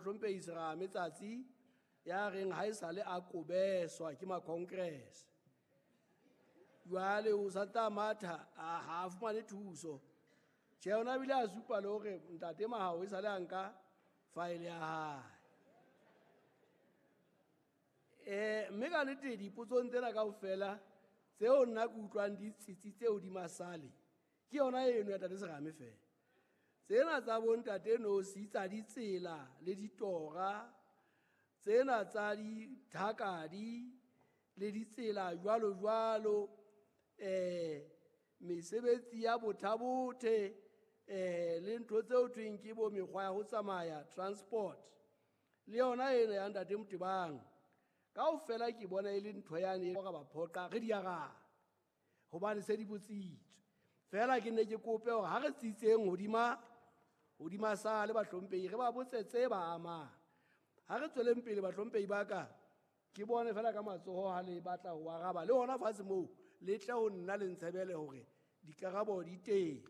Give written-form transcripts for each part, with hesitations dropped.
mohlomphehi Serame Tsatsi ya reng ha esale a kobeswa ke ma-congress. Jwale o sa tla matha ha a fumane thuso. Tjhe, ona bile a supa le hore ntate Mahao e sale a nka faele ya hae. Mme ka nnete dipotsong tsena kaofela tseo nna ke utlwang di tsitsitse hodima sale, ke yona eno ya ntate Serame fela. Tsena tsa bo ntate Nosi tsa ditsela le ditora, tsena tsa dithakadi le ditsela jwalo jwalo, mesebetsi ya bothabothe, le ntho tseo thweng ke bo mekgwa ya ho tsamaya transport, le yona ena ya ntate Motebang. Kaofela ke bona e le ntho yane e ra ba phoqa re di arabe hobane se di botsitswe. Fela ke ne ke kope hore ha re tsitseng hodima sale bahlomphehi, re ba botse tse ba amang. Ha re tsweleng pele bahlomphehi ba ka, ke bone fela ka matsoho ha le batla ho araba le hona fatshe moo le tle ho nna le ntshebele hore dikarabo di teng.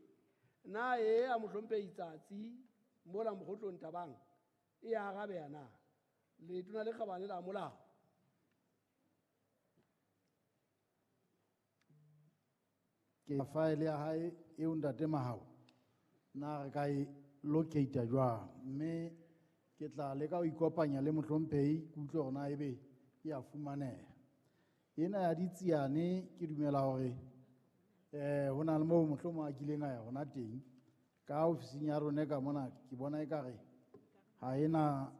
Na e a mohlomphehi Tsatsi mola Mokgotlong Thabang e arabeha na? Letona le kgabane la molao. Ke faele ya hae eo ntate Mahao na re ka e locate jwang, mme ke tla leka ho ikopanya le mohlomphehi ke utlwe hore na ebe e a fumaneha. Ena ya ditsiane ke dumela hore ho na le moo mohlomong a kileng a ya hona teng ka ofising ya rona ka mona, ke bona ekare ha ena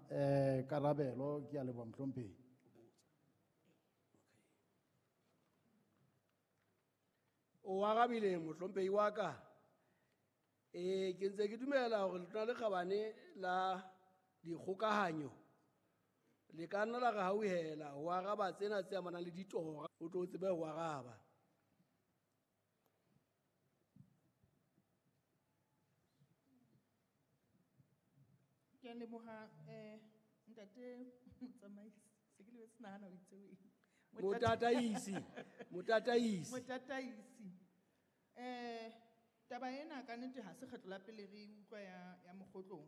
karabelo. Ke a leboha mohlomphehi. O arabile mohlomphehi wa ka. Ke ntse ke dumela hore letona le kgabane la dikgokahanyo le ka nna la re hauhela ho araba tsena tse amanang le ditora, o tlo tsebe ho araba. Ke a leboha, ntate motsamaisi, se ke lebetse nahana o itse o eng. Motataisi, motataisi. Motataisi. Taba ena ka nnete ha se kgetlo la pele re utlwa ya Mokgotlong.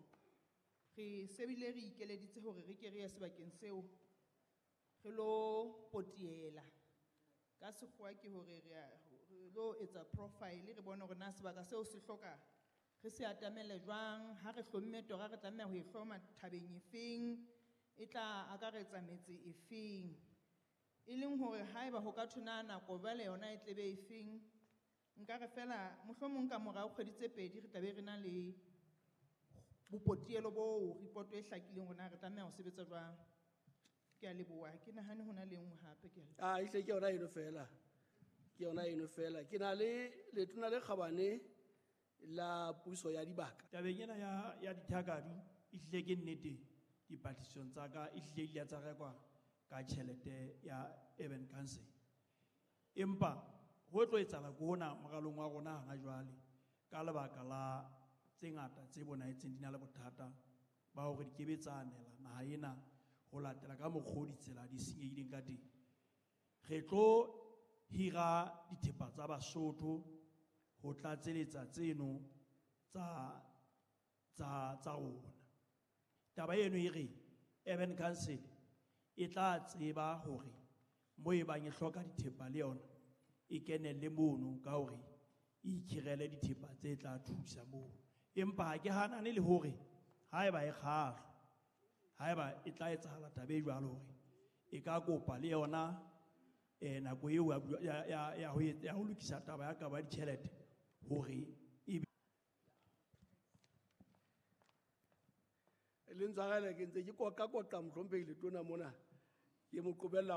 Re sebile re ikeleditse hore re ke re ye sebakeng seo re lo potiela. Ka sekgowa ke hore re lo etsa profile, re bone hore na sebaka seo se hloka re se atamele jwang, ha re hlomme tora re tlameha ho e hloma thabeng efeng, e tla akaretsa metse efeng. E leng hore haeba ho ka thwe na nako jwale yona e tlebe efeng, nka re fela mohlomong ka morao kgwedi tse pedi re tla be re na le bopotielo boo, report e hlakileng hore na re tlameha ho sebetsa jwang. Ke a leboha, ke nahane ho na le nngwe hape, ke a leboha. Ah, ehlile ke yona eno fela. Ke yona eno fela. Ke na le letona le kgabane la puso ya dibaka. Tabeng ena ya dithakadu, ehlile ke nnete dipatlisisong tsa ka, ehlile di ile tsa rekwa ka tjhelete ya Urban Council. Empa ho tlo etsahala ke hona moralong wa rona hana jwale ka lebaka la tse ngata tse bonahetseng di na le bothata ba hore di kebe tsa anela naha ena ho latela ka mokgwa o ditsela di senyehileng ka teng. Re tlo hira dithepa tsa Basotho ho tlatseletsa tseno tsa rona. Taba eno e re Urban Council e tla tseba hore mo e bang e hloka dithepa le yona e kenelle mono ka hore e ikhirele dithepa tse tla thusa moo. Empa ha ke hanane le hore haeba e kgahlwa, haeba e tla etsahala taba e jwalo hore e ka kopa le yona, nako eo ya ho lokisa taba ya kabo ya ditjhelete hore e be Le ntshwarele ke ntse ke koqa-koqa mohlomphehi letona mona, ke mo qobella